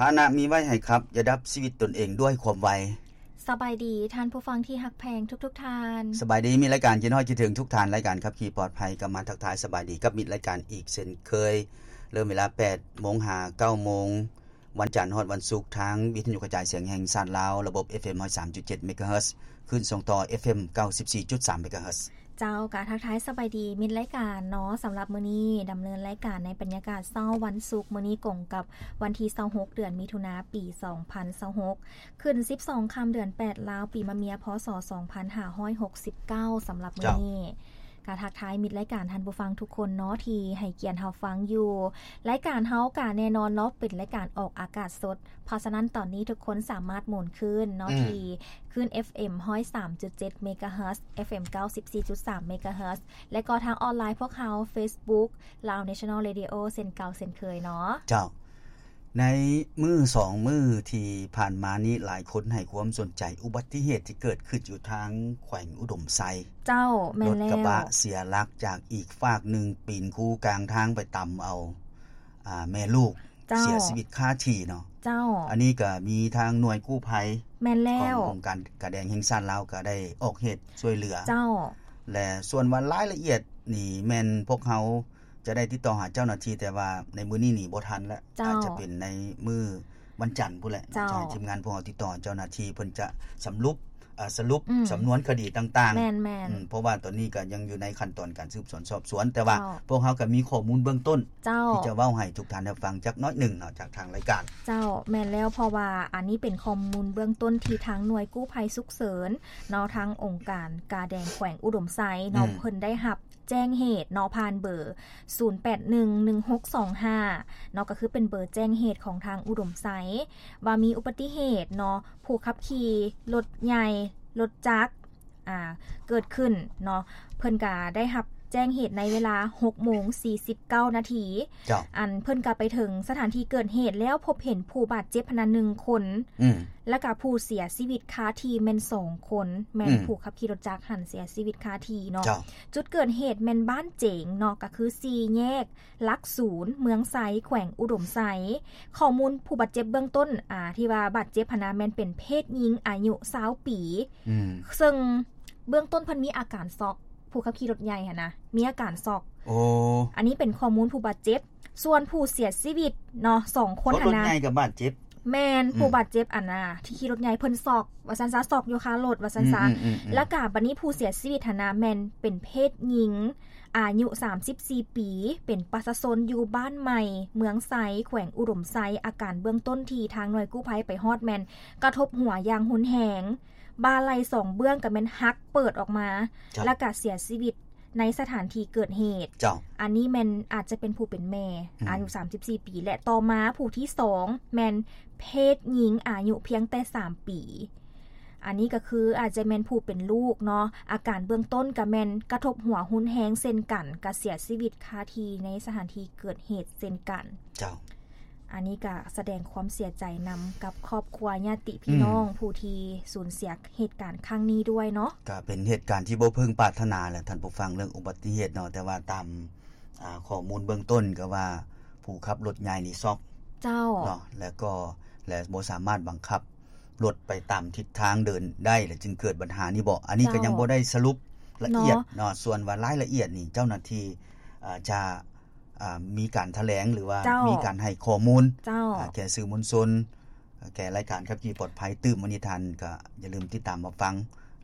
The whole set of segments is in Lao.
ພາຫະນະມີໄວ້ໃຫ້ຂັບ, ຢ່າດັບຊີວິດຕົນເອງດ້ວຍຄວາມໄວ. ສະບາຍດີທ່ານຜູ້ຟັງທີ່ຮັກແພງທຸກໆທ່ານ. ສະບາຍດີມິດລາຍການທີ່ຮອກຄິດເຖິງທຸກທ່ານ, ລາຍການຂັບຂີ່ປອດໄພກໍມາທັກທາຍສະບາຍດີກັບມິດລາຍການອີກເຊັ່ນເຄີຍ. ເລີ່ມເວລາແປດໂມງຫາເກົ້າໂມງ, ວັນຈັນຮອດວັນສຸກ, ທາງວິທະຍຸກະຈາຍສຽງແຫ່ງຊາດລາວ, ລະບົບ ເອຟເອັມ ຮ້ອຍສາມຈຸດເຈັດ ເມກາເຮີດ, ຄື້ນສົ່ງຕໍ່ ເອຟເອັມ ເກົ້າສິບສີ່ຈຸດສາມ ເມກາເຮີດ. ເຈົ້າ, ກະທັກທາຍສະບາຍດີມິດລາຍການເນາະ. ສຳລັບມື້ນີ້ດຳເນີນລາຍການໃນບັນຍາກາດເຊົ້າວັນສຸກ, ມື້ນີ້ກົງກັບວັນທີຊາວຫົກ ເດືອນມິຖຸນາ ປີສອງພັນຊາວຫົກ, ຂຶ້ນສິບສອງຄ່ຳເດືອນແປດລາວ, ປີມະເມຍ ພ.ສ. ສອງພັນຫ້າຮ້ອຍຫົກສິບເກົ້າ. ສຳລັບມື້ນີ້ ເຈົ້າ ກະທັກທາຍມິດລາຍການທ່ານຜູ້ຟັງທຸກຄົນເນາະ ທີ່ໃຫ້ກຽດຮັບຟັງຢູ່. ລາຍການເຮົາກະແນ່ນອນເນາະ ເປັນລາຍການອອກອາກາດສົດ, ເພາະສະນັ້ນຕອນນີ້ທຸກຄົນສາມາດໝູນຄື້ນເນາະ ອືມ ທີ່ຄື້ນ ເອຟເອັມ ຮ້ອຍສາມຈຸດເຈັດ ເມກາເຮີດ, ເອຟເອັມ ເກົ້າສິບສີ່ຈຸດສາມ ເມກາເຮີດ ແລະກໍທາງອອນລາຍພວກເຮົາ ເຟສບຸກ Lao National Radio ເຊັ່ນເກົ່າເຊັ່ນເຄີຍເນາະ. ເຈົ້າ. ໃນມື້ສອງມື້ທີ່ຜ່ານມານີ້ ຫຼາຍຄົນໃຫ້ຄວາມສົນໃຈອຸບັດຕິເຫດທີ່ເກີດຂຶ້ນຢູ່ທາງແຂວງອຸດົມໄຊ. ເຈົ້າ, ແມ່ນແລ້ວ. ລົດກະບະເສຍຫຼັກຈາກອີກຟາກໜຶ່ງ ປີນຄູກາງທາງໄປຕຳເອົາ ອາ ແມ່ລູກ ເຈົ້າ ເສຍຊີວິດຄາທີ່ເນາະ. ເຈົ້າ. ອັນນີ້ກະມີທາງໜ່ວຍກູ້ໄພ ແມ່ນແລ້ວ ຂອງອົງການກາແດງແຫ່ງຊາດລາວກະໄດ້ອອກເຫດຊ່ວຍເຫຼືອ. ເຈົ້າ. ແລະສ່ວນວ່າລາຍລະອຽດນີ້ແມ່ນພວກເຮົາ ຈະໄດ້ຕິດຕໍ່ຫາເຈົ້າໜ້າທີ່, ແຕ່ວ່າໃນມື້ນີ້ນີ້ບໍ່ທັນແລ້ວ. ເຈົ້າ. ອາດຈະເປັນໃນມື້ວັນຈັນພຸ້ນແຫຼະ. ເຈົ້າ. ຈະໃຫ້ທີມງານພວກເຮົາຕິດຕໍ່ເຈົ້າໜ້າທີ່, ເພິ່ນຈະສຳຫຼຸບ ອາ ສະຫຼຸບ ອືມ ສຳນວນຄະດີຕ່າງໆ. ແມ່ນໆ. ອືມ ເພາະວ່າຕອນນີ້ກໍຍັງຢູ່ໃນຂັ້ນຕອນການສືບສວນສອບສວນ, ແຕ່ວ່າ ເຈົ້າ ພວກເຮົາກໍມີຂໍ້ມູນເບື້ອງຕົ້ນ ເຈົ້າ ທີ່ຈະເວົ້າໃຫ້ທຸກທ່ານໄດ້ຟັງຈັກໜ້ອຍໜຶ່ງເນາະ ຈາກທາງລາຍການ. ເຈົ້າ, ແມ່ນແລ້ວ, ເພາະວ່າອັນນີ້ເປັນຂໍ້ມູນເບື້ອງຕົ້ນທີ່ທາງໜ່ວຍກູ້ໄພສຸກເສີນເນາະ ທາງອົງການກາແດງແຂວງອຸດົມໄຊເນາະ ອືມ ເພິ່ນໄດ້ຮັບ ແຈ້ງເຫດເນາະ ຜ່ານເບີ ສູນແປດໜຶ່ງ ໜຶ່ງຫົກສອງຫ້າ ເນາະ ກໍຄືເປັນເບີແຈ້ງເຫດຂອງທາງອຸດົມໄຊ ວ່າມີອຸບັດຕິເຫດເນາະ ຜູ້ຂັບຂີ່ລົດໃຫຍ່ ລົດຈັກ ອາ ເກີດຂຶ້ນເນາະ. ເພິ່ນກະໄດ້ຮັບແຈ້ງເຫດໃນເວລາຫົກໂມງສີ່ສິບເກົ້ານາທີ. ເຈົ້າ. ອັນເພິ່ນກະໄປເຖິງສະຖານທີ່ເກີດເຫດແລ້ວ ພົບເຫັນຜູ້ບາດເຈັບຫັ້ນນະໜຶ່ງຄົນ ອືມ ແລ້ວກະຜູ້ເສຍຊີວິດຄາທີ່ແມ່ນສອງຄົນ, ແມ່ນ ອືມ ຜູ້ຂັບຂີ່ລົດຈັກຫັ້ນເສຍຊີວິດຄາທີ່ເນາະ. ເຈົ້າ. ຈຸດເກີດເຫດແມ່ນບ້ານເຈງເນາະ ກໍຄືສີ່ແຍກຫຼັກສູນ ເມືອງໄຊ ແຂວງອຸດົມໄຊ. ຂໍ້ມູນຜູ້ບາດເຈັບເບື້ອງຕົ້ນ ອາ ທີ່ວ່າບາດເຈັບຫັ້ນນະ ແມ່ນເປັນເພດຍິງອາຍຸຊາວປີ ອືມ ເຊິ່ງເບື້ອງຕົ້ນເພິ່ນມີອາການຊັອກ ຜູ້ຂັບຂີ່ລົດໃຫຍ່ຫັ້ນນະ ມີອາການຊັອກ. ໂອ້ ອັນນີ້ເປັນຂໍ້ມູນຜູ້ບາດເຈັບ. ສ່ວນຜູ້ເສຍຊີວິດເນາະ ສອງຄົນຫັ້ນນະ ຄົນລົດໃຫຍ່ກໍບາດເຈັບ. ແມ່ນ ອືມ ຜູ້ບາດເຈັບອັນນະ ທີ່ຂີ່ລົດໃຫຍ່ເພິ່ນຊັອກ ວ່າຊັ້ນຊະ, ຊັອກຢູ່ຄາລົດ ວ່າຊັ້ນຊະ. ອືມໆໆ ແລ້ວກະບັດນີ້ຜູ້ເສຍຊີວິດຫັ້ນນະ ແມ່ນເປັນເພດຍິງ ອາຍຸສາມສິບສີ່ປີ ເປັນປະຊາຊົນຢູ່ບ້ານໃໝ່ ເມືອງໄຊ ແຂວງອຸດົມໄຊ. ອາການເບື້ອງຕົ້ນທີ່ທາງໜ່ວຍກູ້ໄພໄປຮອດແມ່ນກະທົບຫົວຢ່າງຮຸນແຮງ, ບ່າໄຫຼ່ສອງເບື້ອງກະແມ່ນຫັກເປີດອອກມາ ເຈົ້າ ແລ້ວກະເສຍຊີວິດ ໃນສະຖານທີ່ເກີດເຫດ. ເຈົ້າ. ອັນນີ້ແມ່ນອາດຈະເປັນຜູ້ເປັນແມ່ ອືມ ອາຍຸສາມສິບສີ່ປີ ແລະຕໍ່ມາຜູ້ທີສອງແມ່ນເພດຍິງອາຍຸພຽງແຕ່ສາມປີ. ອັນນີ້ກໍຄືອາດຈະແມ່ນຜູ້ເປັນລູກເນາະ, ອາການເບື້ອງຕົ້ນກໍແມ່ນກະທົບຫົວຮຸນແຮງເຊັ່ນກັນ, ກໍເສຍຊີວິດຄາທີ່ໃນສະຖານທີ່ເກີດເຫດເຊັ່ນກັນ. ເຈົ້າ. ອັນນີ້ກໍສະແດງຄວາມເສຍໃຈນຳກັບຄອບຄົວຍາດຕິພີ່ນ້ອງ ອືມ ຜູ້ທີ່ສູນເສຍເຫດການຄັ້ງນີ້ດ້ວຍເນາະ. ກໍເປັນເຫດການທີ່ບໍ່ເພິ່ງປາດຖະໜາແຫຼະທ່ານຜູ້ຟັງ ເລື່ອງອຸບັດຕິເຫດເນາະ, ແຕ່ວ່າຕາມ ອ່າ ຂໍ້ມູນເບື້ອງຕົ້ນກໍວ່າຜູ້ຂັບລົດໃຫຍ່ນີ້ຊັອກ ເຈົ້າ ເນາະ ແລ້ວກໍ ແລະບໍ່ສາມາດບັງຄັບລົດໄປຕາມທິດທາງເດີນໄດ້ ແລະຈຶ່ງເກີດບັນຫານີ້ບໍ? ອັນນີ້ກໍ ເຈົ້າ ຍັງບໍ່ໄດ້ສະຫຼຸບລະອຽດ ເນາະ ເນາະ. ສ່ວນວ່າລາຍລະອຽດນີ້ເຈົ້າໜ້າທີ່ ອ່າ ຈະ ອ່າ ມີການຖະແຫຼງ ຫຼືວ່າ ເຈົ້າ ມີການໃຫ້ຂໍ້ມູນ ເຈົ້າ ອ່າ ແກ່ສື່ມວນຊົນ ແກ່ລາຍການຂັບຂີ່ປອດໄພຕື່ມ. ມື້ນີ້ທ່ານກໍຢ່າລືມຕິດຕາມມາຟັງ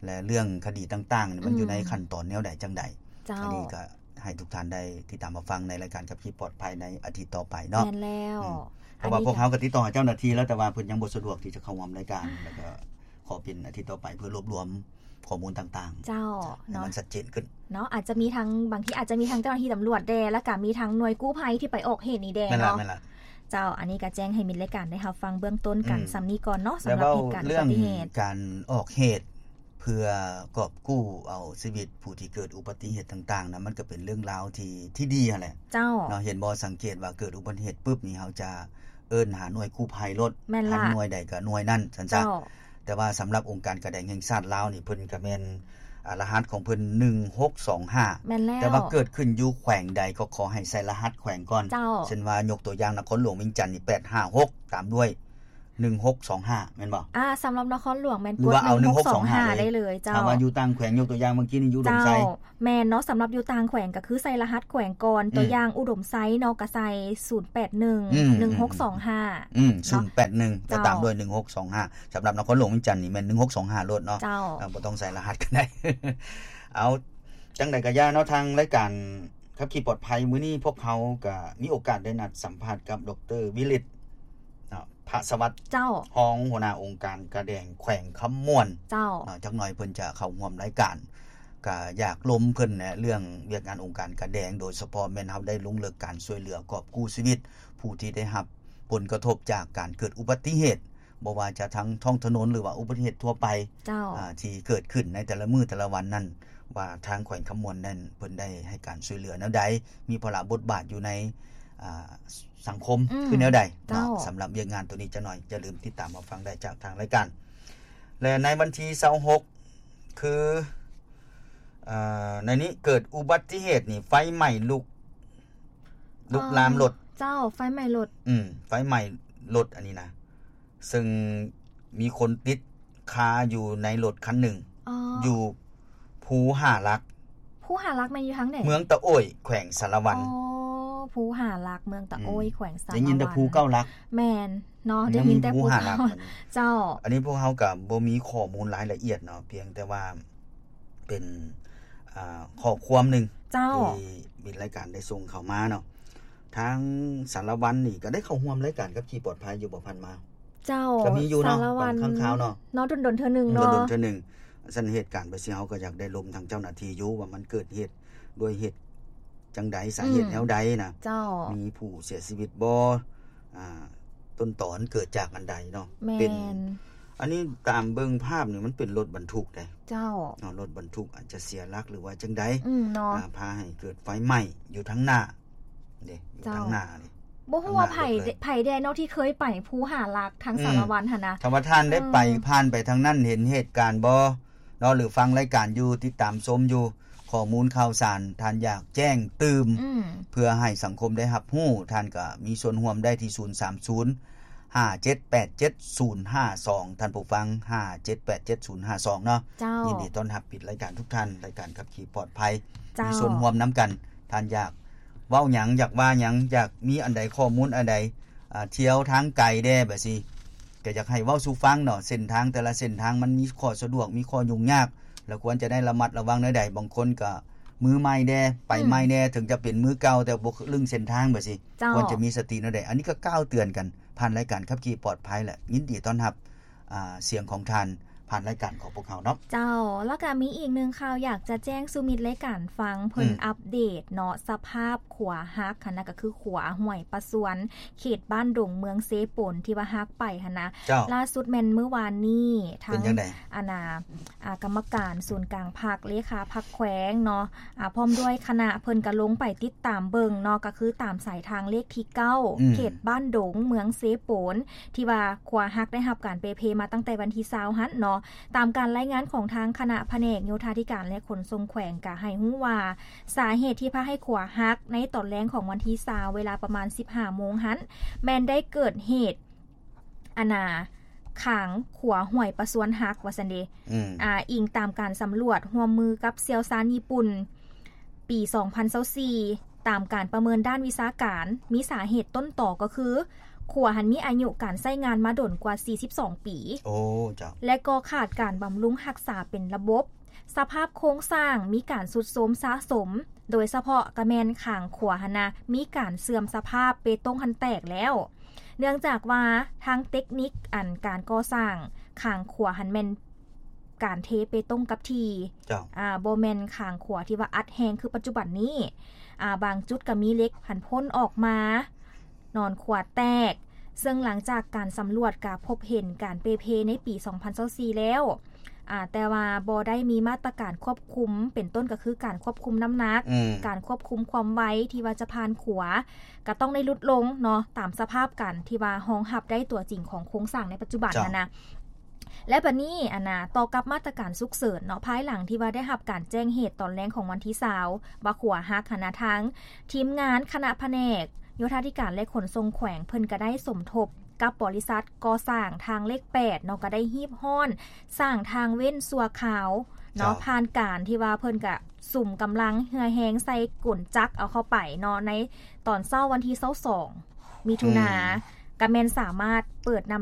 ແລະເລື່ອງຄະດີຕ່າງໆ ມັນຢູ່ໃນ ອືມ ຂັ້ນຕອນແນວໃດຈັ່ງໃດ. ເຈົ້າ. ອັນນີ້ກໍໃຫ້ທຸກທ່ານໄດ້ຕິດຕາມມາຟັງໃນລາຍການຂັບຂີ່ປອດໄພໃນອາທິດຕໍ່ໄປເນາະ. ແມ່ນແລ້ວ. ອືມ ເພາະວ່າພວກເຮົາກໍຕິດຕໍ່ຫາເຈົ້າໜ້າທີ່ແລ້ວ ແຕ່ວ່າເພິ່ນຍັງບໍ່ສະດວກທີ່ຈະເຂົ້າຮ່ວມລາຍການ ແລ້ວກໍຂໍເປັນອາທິດຕໍ່ໄປເພື່ອລວບລວມຂໍ້ມູນຕ່າງໆ ເຈົ້າ ໃຫ້ມັນ ເນາະ ຊັດເຈນຂຶ້ນເນາະ. ອາດຈະມີທັງ ບາງທີອາດຈະມີທັງເຈົ້າໜ້າທີ່ຕຳຫຼວດແດ່ ແລ້ວກະມີທັງໜ່ວຍກູ້ໄພທີ່ໄປອອກເຫດນີ້ແດ່ເນາະ. ແມ່ນລະ ແມ່ນລະ. ເຈົ້າ, ອັນນີ້ກໍແຈ້ງໃຫ້ມິດລາຍການໄດ້ຮັບຟັງເບື້ອງຕົ້ນກັນ ອືມ ສ່ຳນີ້ກ່ອນເນາະ, ສຳລັບເຫດການອຸບັດຕິເຫດ. ແລ້ວເວົ້າເລື່ອງການອອກເຫດເພື່ອກອບກູ້ເອົາຊີວິດຜູ້ທີ່ເກີດອຸບັດຕິເຫດຕ່າງໆນະ, ມັນກໍເປັນເລື່ອງລາວທີ່ ທີ່ດີຫັ້ນແຫຼະ. ເຈົ້າ. ເນາະ, ເຫັນບໍ່, ສັງເກດວ່າເກີດອຸບັດຕິເຫດປຶບນີ້ ເຮົາຈະເອີ້ນຫາໜ່ວຍກູ້ໄພໂລດ. ແມ່ນລະ. ທາງໜ່ວຍໃດກໍໜ່ວຍນັ້ນ, ຊັ້ນຊະ. ເຈົ້າ. ແຕ່ວ່າສຳລັບອົງການກາແດງແຫ່ງຊາດລາວນີ້ ເພິ່ນກໍແມ່ນ ອາ ລະຫັດຂອງເພິ່ນ ໜຶ່ງຫົກສອງຫ້າ. ແມ່ນແລ້ວ. ແຕ່ວ່າເກີດຂຶ້ນຢູ່ແຂວງໃດກໍຂໍໃຫ້ໃສ່ລະຫັດແຂວງກ່ອນ. ເຈົ້າ. ເຊັ່ນວ່າຍົກຕົວຢ່າງນະຄອນຫຼວງວຽງຈັນນີ້ ແປດຫ້າຫົກ ຕາມດ້ວຍ ໜຶ່ງຫົກສອງຫ້າ ແມ່ນບໍ່? ອ່າ ສຳລັບນະຄອນຫຼວງແມ່ນ ຫຼືວ່າເອົາ ກົດ ໜຶ່ງຫົກສອງຫ້າ ໜຶ່ງຫົກສອງຫ້າ ໄດ້ເລີຍ ເຈົ້າ. ຖ້າວ່າຢູ່ຕ່າງແຂວງ ຍົກຕົວຢ່າງ ເມື່ອກີ້ນີ້ຢູ່ດົງໄຊ ເຈົ້າ ແມ່ນເນາະ. ສຳລັບຢູ່ຕ່າງແຂວງກໍຄືໃສ່ລະຫັດແຂວງກ່ອນ ອືມ ຕົວຢ່າງອຸດົມໄຊເນາະ ກໍໃສ່ ສູນແປດໜຶ່ງ ອືມ ໜຶ່ງຫົກສອງຫ້າ ອືມ ເນາະ ສູນແປດໜຶ່ງ ກໍ ເຈົ້າ ຕາມດ້ວຍ ໜຶ່ງຫົກສອງຫ້າ. ສຳລັບນະຄອນຫຼວງວຽງຈັນນີ້ແມ່ນ ໜຶ່ງຫົກສອງຫ້າ ໂລດເນາະ ເຈົ້າ. ເອີ ບໍ່ຕ້ອງໃສ່ລະຫັດກໍໄດ້. ເອົາ ຈັ່ງໃດກໍຢ່າເນາະ ທາງລາຍການຂັບຂີ່ປອດໄພ ມື້ນີ້ພວກເຮົາກໍມີໂອກາດໄດ້ນັດສຳພາດກັບ ດຣ ວິລິດ ເນາະ ພະສະຫວັດ ເຈົ້າ ຮອງຫົວໜ້າອົງການກາແດງແຂວງຄຳມ່ວນ ເຈົ້າ ເນາະ. ຈັກໜ່ອຍເພິ່ນຈະເຂົ້າຮ່ວມລາຍການ ກໍຢາກລົມເພິ່ນແຫຼະ ເລື່ອງວຽກງານອົງການກາແດງ ໂດຍສະເພາະແມ່ນເຮົາໄດ້ລົງເລິກການຊ່ວຍເຫຼືອກອບກູ້ຊີວິດ ຜູ້ທີ່ໄດ້ຮັບຜົນກະທົບຈາກການເກີດອຸບັດຕິເຫດ ບໍ່ວ່າຈະທາງທ້ອງຖະໜົນ ຫຼືວ່າອຸບັດຕິເຫດທົ່ວໄປ ເຈົ້າ ອາ ທີ່ເກີດຂຶ້ນໃນແຕ່ລະມື້ແຕ່ລະວັນນັ້ນ ວ່າທາງແຂວງຄຳມ່ວນນັ້ນ ເພິ່ນໄດ້ໃຫ້ການຊ່ວຍເຫຼືອແນວໃດ ມີພາລະບົດບາດຢູ່ໃນ ອາ ສັງຄົມ ອືມ ຄືແນວໃດ ເຈົ້າ ເນາະ. ສຳລັບວຽກງານໂຕນີ້ ຈັກໜ່ອຍຢ່າລືມຕິດຕາມຮັບຟັງໄດ້ຈາກທາງລາຍການ. ແລະ ໃນວັນທີຊາວຫົກ ຄື ເອີ ໃນນີ້ເກີດອຸບັດຕິເຫດນີ້ ໄຟໄໝ້ລຸກ ລຸກລາມລົດ ເຈົ້າ ໄຟໄໝ້ລົດ ອືມ ໄຟໄໝ້ລົດອັນນີ້ນະ ເຊິ່ງມີຄົນຕິດຄາຢູ່ໃນລົດຄັນໜຶ່ງ ອໍ ຢູ່ພູຫ້າຫຼັກ. ພູຫ້າຫຼັກແມ່ນຢູ່ທາງໃດ? ເມືອງຕະໂອ້ຍ ແຂວງສາລະວັນ. ອໍ ພູຫ້າຫຼັກ ເມືອງຕະໂອ້ຍ ອືມ ແຂວງສາລະວັນ. ໄດ້ຍິນແຕ່ພູເກົ້າຫຼັກ. ແມ່ນເນາະ ໄດ້ຍິນແຕ່ພູເກົ້າ ເຈົ້າ. ອັນນີ້ພວກເຮົາກໍບໍ່ມີຂໍ້ມູນລາຍລະອຽດເນາະ ພຽງແຕ່ວ່າ ເປັນ ອ່າ ຂໍ້ຄວາມໜຶ່ງ ເຈົ້າ ທີ່ມິດລາຍການໄດ້ສົ່ງເຂົ້າມາເນາະ. ທາງສາລະວັນນີ້ກໍໄດ້ເຂົ້າຮ່ວມລາຍການຂັບຂີ່ປອດໄພຢູ່ບໍ່ ຜ່ານມາ? ເຈົ້າ ກໍມີຢູ່ເນາະ ສາລະວັນ ບາງຄັ້ງຄາວເນາະ ເນາະ ດົນໆເທື່ອໜຶ່ງເນາະ ດົນໆເທື່ອໜຶ່ງ. ຊັ້ນເຫດການໄປຊີ້ ເຮົາກໍຢາກໄດ້ລົມທາງເຈົ້າໜ້າທີ່ຢູ່ ວ່າມັນເກີດເຫດດ້ວຍເຫດຈັ່ງໃດ ສາເຫດ ອືມ ແນວໃດນະ ເຈົ້າ ມີຜູ້ເສຍຊີວິດບໍ່ ອ່າ ຕົ້ນຕອນເກີດຈາກອັນໃດເນາະ. ແມ່ນ ເປັນ ອັນນີ້ຕາມເບິ່ງພາບນີ້ ມັນເປັນລົດບັນທຸກເດ້ ເຈົ້າ ເນາະ ລົດບັນທຸກອາດຈະເສຍຫຼັກ ຫຼືວ່າຈັ່ງໃດ ອືມ ເນາະ ອ່າ ພາໃຫ້ເກີດໄຟໄໝ້ຢູ່ທາງໜ້າເດ້ ຢູ່ທາງໜ້າເດ້ ເຈົ້າ. ບໍ່ຮູ້ວ່າໃຜ ທາງໜ້າລົດເລີຍ ໃຜແດ່ເນາະ ທີ່ເຄີຍໄປພູຫ້າຫຼັກທາງ ອືມ ສາລະວັນຫັ້ນນະ. ຖ້າວ່າທ່ານໄດ້ໄປ ເອີ ຜ່ານໄປທາງນັ້ນ ເຫັນເຫດການບໍ່ເນາະ ຫຼືຟັງລາຍການຢູ່ ຕິດຕາມຊົມຢູ່ ຂໍ້ມູນຂ່າວສານ ທ່ານຢາກແຈ້ງຕື່ມ ອືມ ເພື່ອໃຫ້ສັງຄົມໄດ້ຮັບຮູ້ ທ່ານກໍມີສ່ວນຮ່ວມໄດ້ທີ່ ສູນສາມສູນ ຫ້າເຈັດແປດເຈັດສູນຫ້າສອງ ທ່ານຜູ້ຟັງ ຫ້າເຈັດແປດເຈັດສູນຫ້າສອງ ເນາະ ເຈົ້າ. ຍິນດີຕ້ອນຮັບມິດລາຍການທຸກທ່ານ ລາຍການຂັບຂີ່ປອດໄພ ເຈົ້າ ມີສ່ວນຮ່ວມນຳກັນ. ທ່ານຢາກເວົ້າຫຍັງ ຢາກວ່າຫຍັງ ຢາກມີອັນໃດ ຂໍ້ມູນອັນໃດ ອ່າ ທ່ຽວທາງໄກແດ່ແບບຊີ້ ກໍຢາກໃຫ້ເວົ້າສູ່ຟັງເນາະ ເສັ້ນທາງແຕ່ລະເສັ້ນທາງມັນມີຂໍ້ສະດວກ ມີຂໍ້ຫຍຸ້ງຍາກ ແລ້ວຄວນຈະໄດ້ລະມັດລະວັງແນວໃດ. ບາງຄົນກໍມືໃໝ່ແດ່ ໄປໃໝ່ແດ່ ອືມ ເຖິງຈະເປັນມືເກົ່າ ແຕ່ບໍ່ລຶ້ງເສັ້ນທາງແບບຊີ້ ເຈົ້າ ຄວນຈະມີສະຕິແນວໃດ. ອັນນີ້ກໍກ່າວເຕືອນກັນ ຜ່ານລາຍການຂັບຂີ່ປອດໄພ ແລະ ຍິນດີຕ້ອນຮັບ ອ່າ ສຽງຂອງທ່ານ ຜ່ານລາຍການຂອງພວກເຮົາເນາະ. ເຈົ້າ ແລ້ວກໍມີອີກໜຶ່ງຂ່າວ ຢາກຈະແຈ້ງສູ່ມິດລາຍການຟັງ ເພິ່ນ ອືມ ອັບເດດເນາະ ສະພາບຂວາຫັກຫັ້ນນະ ກໍຄືຂວາຫ້ວຍປະຊວນ ເຂດບ້ານດົງ ເມືອງເຊໂປນ ທີ່ວ່າຫັກໄປຫັ້ນນະ. ເຈົ້າ ລ່າສຸດແມ່ນມື້ວານນີ້ ທາງ ອັນນ່າ ອ່າ ກຳມະການສູນກາງພັກ ເລຂາພັກແຂວງເນາະ ອ່າ ພ້ອມດ້ວຍຄະນະ ເພິ່ນກໍລົງໄປຕິດຕາມເບິ່ງເນາະ ກໍຄືຕາມສາຍທາງເລກທີເກົ້າ ອືມ ເຂດບ້ານດົງ ເມືອງເຊໂປນ ທີ່ວ່າຂວາຫັກໄດ້ຮັບການເປເພມາຕັ້ງແຕ່ວັນທີຊາວຫັ້ນເນາະ. ຕາມການລາຍງານຂອງທາງຄະນະພະແນກໂຍທາທິການ ແລະ ຂົນສົ່ງແຂວງ ກໍໃຫ້ຮູ້ວ່າ ສາເຫດທີ່ພາໃຫ້ຂວາຫັກໃນຕອນແລງຂອງວັນທີຊາວ ເວລາປະມານສິບຫ້າໂມງຫັ້ນ ແມ່ນໄດ້ເກີດເຫດ ອັນນ່າ ຂາງຂວາຫ້ວຍປະຊວນຫັກ ວ່າຊັ້ນເດ. ອືມ ອ່າ ອີງຕາມການສຳຫຼວດຮ່ວມມືກັບຊ່ຽວຊານຍີ່ປຸ່ນ ປີສອງພັນຊາວສີ່ ຕາມການປະເມີນດ້ານວິຊາການ ມີສາເຫດຕົ້ນຕໍກໍຄື ຂວາຫັ້ນມີອາຍຸການໃຊ້ງານມາດົນກວ່າສີ່ສິບສອງປີ. ໂອ້ ເຈົ້າ. ແລະ ກໍຂາດການບຳລຸງຮັກສາເປັນລະບົບ. ສະພາບໂຄງສ້າງມີການຊຸດໂຊມສະສົມ, ໂດຍສະເພາະກະແມ່ນຂ້າງຂວາຫັ້ນນະ ມີການເສື່ອມສະພາບ, ເປຕົງຫັ້ນແຕກແລ້ວ. ເນື່ອງຈາກວ່າທາງເຕັກນິກອັນການກໍ່ສ້າງຂ້າງຂວາຫັ້ນແມ່ນການເທເປຕົງກັບທີ່, ເຈົ້າ. ອາ, ບໍ່ແມ່ນຂ້າງຂວາທີ່ວ່າອັດແຮງຄືປັດຈຸບັນນີ້. ອາ, ບາງຈຸດກະມີເຫຼັກຫັ້ນພົ່ນອອກມາ, ໜອນຂວາແຕກ, ເຊິ່ງຫຼັງຈາກການສຳຫຼວດກະພົບເຫັນການເປເພໃນປີສອງພັນຊາວສີ່ແລ້ວ, ອາ, ແຕ່ວ່າບໍ່ໄດ້ມີມາດຕະການຄວບຄຸມ, ເປັນຕົ້ນກໍຄືການຄວບຄຸມນ້ຳໜັກ, ອືມ. ການຄວບຄຸມຄວາມໄວທີ່ວ່າຈະຜ່ານຂວາ, ກະຕ້ອງໄດ້ຫຼຸດລົງເນາະ, ຕາມສະພາບການທີ່ວ່າຮອງຮັບໄດ້ຕົວຈິງຂອງໂຄງສ້າງໃນປັດຈຸບັນ ເຈົ້າ. ຫັ້ນນະ. ແລະ ບັດນີ້ ອັນນະ ຕໍ່ກັບມາດຕະການສຸກເສີນເນາະ, ພາຍຫຼັງທີ່ວ່າໄດ້ຮັບການແຈ້ງເຫດຕອນແລງຂອງວັນທີຊາວ ວ່າຂວາຫັກຫັ້ນນະ, ທາງທີມງານຄະນະພະແນກໂຍທາທິການ ແລະ ຂົນສົ່ງແຂວງ ເພິ່ນກະໄດ້ສົມທົບ ກັບບໍລິສັດກໍ່ສ້າງທາງເລກແປດເນາະ ກໍໄດ້ຮີບຮ້ອນສ້າງທາງເວັ້ນຊົ່ວຄາວເນາະ ເຈົ້າ ຜ່ານການທີ່ວ່າເພິ່ນກະສຸມກຳລັງເຫື່ອແຮງໃສ່ກົນຈັກເອົາເຂົ້າໄປເນາະ ໃນຕອນເຊົ້າວັນທີຊາວສອງ ມິຖຸນາ ອືມ ກະແມ່ນສາມາດເປີດນຳ